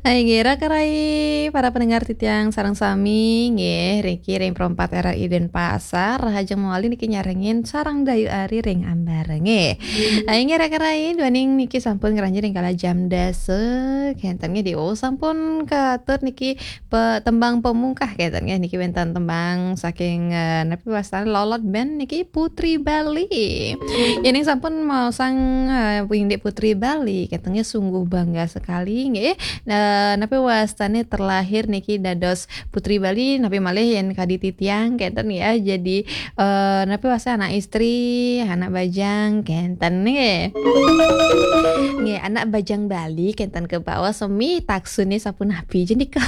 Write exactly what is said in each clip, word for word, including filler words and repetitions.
Hai, nggih, raka rai para pendengar titiang sareng sami, nggih, niki ring Pro empat R R I Denpasar, rahajeng malih niki nyarengin sareng Dayu Ari ring ambara, nggih. Hai, nggih, raka rai, duaning niki sampun ngranjing ring kala jam dasa, kenten nggih, diu sampun katur niki pe-, tembang pemungkah, kenten nggih, niki wenten tembang saking, eh, napi wastane Lolot Band niki Putri Bali. Yening sampun maosang, eh, indik Putri Bali, kenten nggih sungguh bangga sekali, nggih. Nah, napi wastane terlahir niki dados Putri Bali, napi malih yen kadi titiang, kenten ya. Jadi, eh, napi wastane anak istri, anak bajang, kenten nggih. Nggih, anak bajang Bali, kenten kebaos sami taksune sapunapi jenika.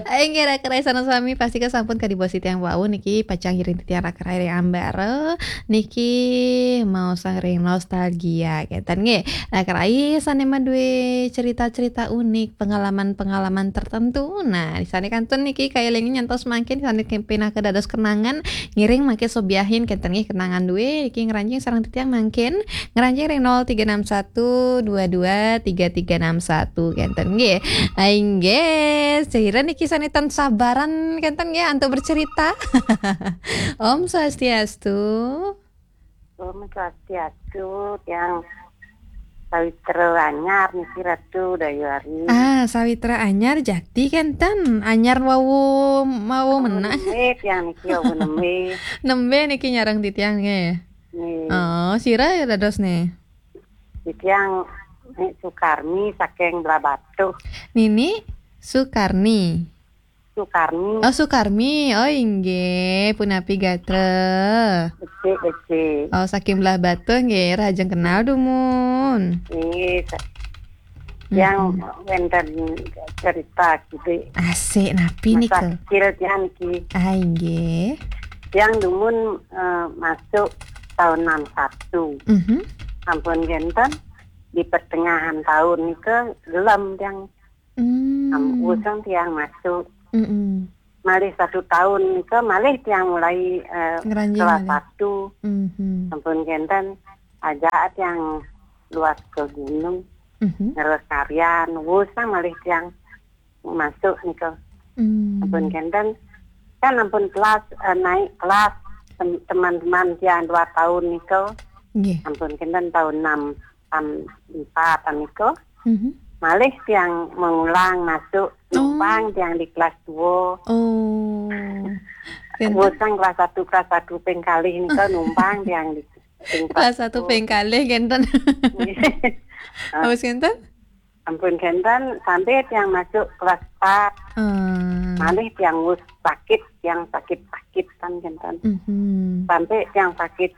Inggih, raka rai sareng sami, pastika sampun kadi bos titiang wau niki pacang ngiring titiang raka rai ring ambara. Niki maosang ring nostalgia, kenten nggih. Raka rai sane madue cerita-cerita unik, pengalaman-pengalaman tertentu. Nah, sane kantun niki kaelingin nyantos mangkin sane pinaka dados kenangan, ngiring mangkin sobiahin, kenten nggih, kenangan due niki ngranjing sareng titiang mangkin. Ngranjing ring nol tiga enam satu dua dua tiga tiga enam satu, kenten nggih. Inggih, sira niki sane tan sabaran, kenten nggih, antuk bercerita. Om Swastiastu. Om Swastiastu, tiang Sawitra Anyar niki Ratu Dayuari. Ah, Sawitra Anyar jati, kenten. Anyar wau, wau menah. Nembe tiang niki, wau nembe. Nembe niki nyareng titiang nggih. Nggih. Oh, sira ya dados nih. Titiang Nik Sukarmi saking Blahbatuh. Nini Sukarni. Sukarmi. Oh, Sukarmi. Oh, inggih, punapi gatra? Becik, becik. Oh, saking Blahbatuh nggih, rahajeng kenal dumun. Nggih, sa-, tiang wenten cerita kidik. Asik, napi nika? Masa kecil tiang niki. Ah, inggih. Tiang dumun, eh, masuk tahun enam satu. Mhm. Ampun kenten, di pertengahan tahun nika gelem tiang. Hmm. Am, usang tiang masuk. Mm-mm. Malih satu tahun nika, malih tiang mulai, eh, ngranjing kelas malih. Satu. Mhm. Ampun kenten, ajak tiang luas ke gunung, mhm, ngeres tarian, usang malih tiang masuk nika. Hmm. Ampun kenten, kan ampun kelas, eh, naik kelas tem-, teman-teman tiang dua tahun nika. Nggih. Ampun kenten tahun enam, enam empat nika. Mhm. Malih tiang mengulang masuk, oh, numpang tiang di kelas dua. Oh. Kenten. Usang kelas satu, kelas satu ping kalih nika numpang tiang di ping kelas satu dua. Ping kalih kenten. Nggih. Terus kenten? Ampun kenten, sampai tiang masuk kelas empat. Hmm. Malih tiang wus sakit, tiang sakit-sakit kan kenten. Mhm. Sampai tiang sakit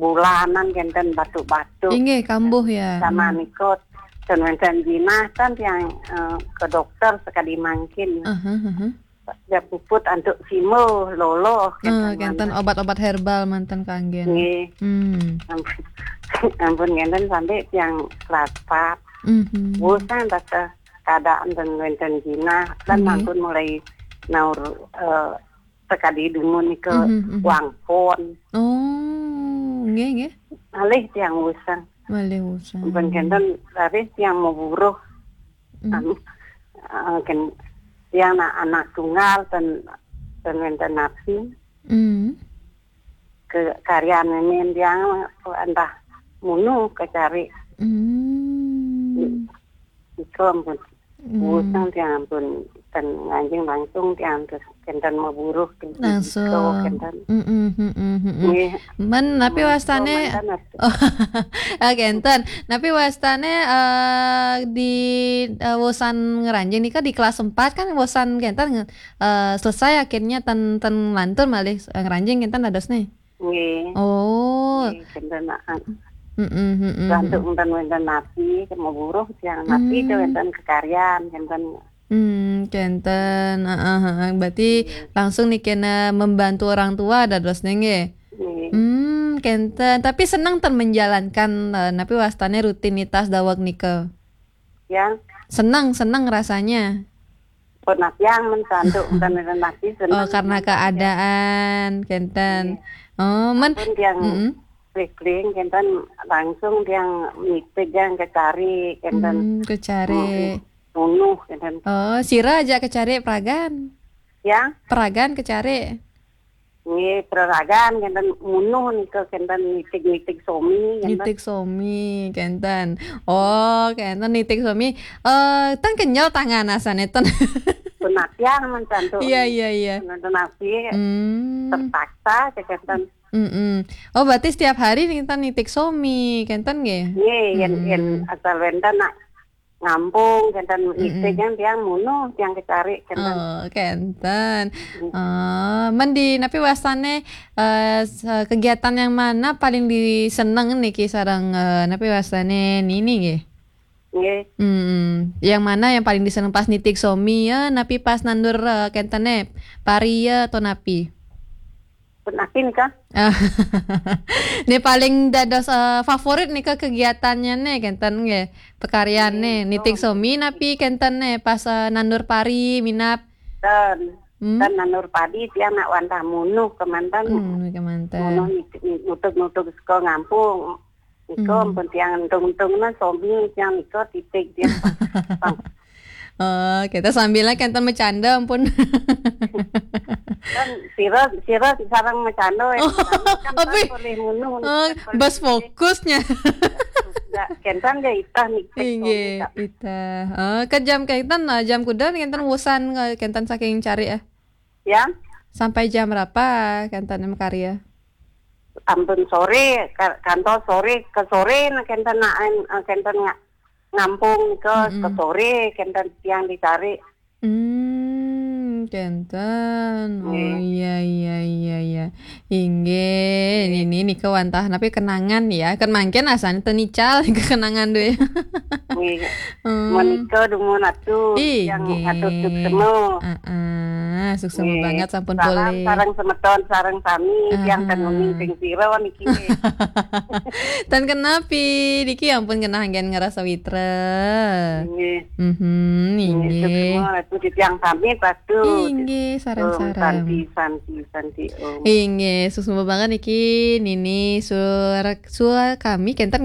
bulanan kenten, batuk-batuk. Inggih, kambuh ya. Sama, hmm, nikot. Dan wenten jinah kan tiang, eh, ke dokter sekali mangkin. Aha, aha. Ya puput antuk simo, loloh, eh, kenten kenten manah. Obat-obat herbal manten kanggen. Nggih. Hmm. Ampun, ampun kenten sampai tiang kelas empat. Mhm. Bosan rasa keadaan dan wenten jinah. Dan, nggih, ampun mulai naur, eh, sekadi dumun nika, mhm, mhm, wangpon. Oh, nggih, nggih. Malih tiang usang. Malih usang. Ampun kenten, raris tiang maburuh. Hmm. Anu, eh, ken-, tiang na-, anak tunggal ten, ten wenten napi. Hmm. Ke karyan nemen tiang entah munu kecari. Hmm. Iko ampun. Hmm. Usang tiang ampun ten nganjing langsung tiang terus kenten maburuh kenten. Langsung. Iko kenten. Mm-mm, mm-mm, mm-mm. Nggih. Men, napi wastane? Manten atuh. Oh, kenten. Napi wastane, eh, di, eh, wusan ngranjing nika di kelas empat kan wusan kenten, eh, selesai akhirnya ten, ten lantur malih, eh, ngranjing kenten dadosne. Nggih. Oh. Nggih, kenten, ah. Mm-mm, mm-mm, lantur mm-mm. Wenten, wenten napi, maburuh tiang napi, hmm, ke wenten kekaryan, kenten. Hmm, kenten. Heeh, heeh. Berarti, hmm, langsung niki kena membantu orang tua dados nggih. Nggih. Hmm, kenten. Tapi seneng ten menjalankan, eh, napi wastane rutinitas daweg nika? Ya. Seneng, seneng rasanya. Pun tiang men santuk, bukan napi seneng. Oh, karena keadaan, kenten. Nggih. Oh, men. Pun tiang, mm-mm, keliling, kenten langsung tiang nitih tiang kecari, kenten. Hmm, kecari. Oh, Munuh kenten. Oh, sira aja kecari peragan. Ya. Peragan kecari. Nggih, peragan kenten munuh nika kenten nitig-nitig somi kenten. Nitig somi kenten. Oh, kenten nitig somi. Eh, ten kenyal tangan asane ten. Penatian men cantu. Iya, iya, iya. Nonton api. Hmm. Terpaksa kenten. Mm-mm. Oh, berarti setiap hari nih kita nitik somi, kenten nggih? Nggih, yen, hmm, yen asal wenten nak ngampung, kenten, mm-mm, nitik kan tiang munuh, tiang kecari, kenten. Oh, kenten. Mm. Oh, men di napi wasane, eh, se-, kegiatan yang mana paling diseneng niki sareng, eh, napi wasane nini nggih? Nggih. Hmm, yang mana yang paling diseneng pas nitik somi ya, napi pas nandur, eh, kentene, pari ya atau napi? Pun api nika. Ah. Ini paling dados, eh, favorit nika kegiatannya nih, kenten nggih. Pekaryane, nggih, nitik somi napi kenten nih pas, eh, nandur pari, minap. Dan, hmm? Dan nandur padi tiang nak wantah munuh kemanten. Hmm, kemanten. Munuh nitik, nutuk-nutuk saka ngampung. Nika, hmm, ampun tiang entung-entung na somi tiang nika titik tiang. Oh, kita sambilnya kenten bercanda ampun. Kan sira, sira sareng macanda ya. Oh, kan, kan boleh munuh, oh, kan boleh bas fokusnya. Enggak, kenten ya itah nitik. Inggih, somi, Kak. Itah. Oh, ke jam kenten, eh, jam kuda kenten wusan, eh, kenten saking cari ya. Ya. Sampai jam berapa kenten makarya? Ampun sore, ka-, kantos sore, ke sore nah kenten nak, eh, kenten nga-, ngampung ke, mm-mm, ke sore, kenten tiang dicari. Hmm, kenten. Oh, nggih, iya, iya, iya, iya. Inggih, nggih, ini nika wantah napi kenangan ya. Kan mangkin asane tenical kenangan duwe. Nggih. Hmm. Menika dumun atu, inggih, yang atur suksema. Heeh, suksema, nggih, banget sampun, salam polih. Sareng semeton, sareng sami, tiang, aha, ten uning sing sira niki nggih. Ten kenapi, niki ampun kena anggen ngerasa witra. Nggih. Mhm, nggih, inggih. Suksema atu titiang sami patu. Inggih, sareng-sareng. Om Santi, Santi, Santi, Om. Inggih, suksema banget niki Nini Sur-, Sur kami kenten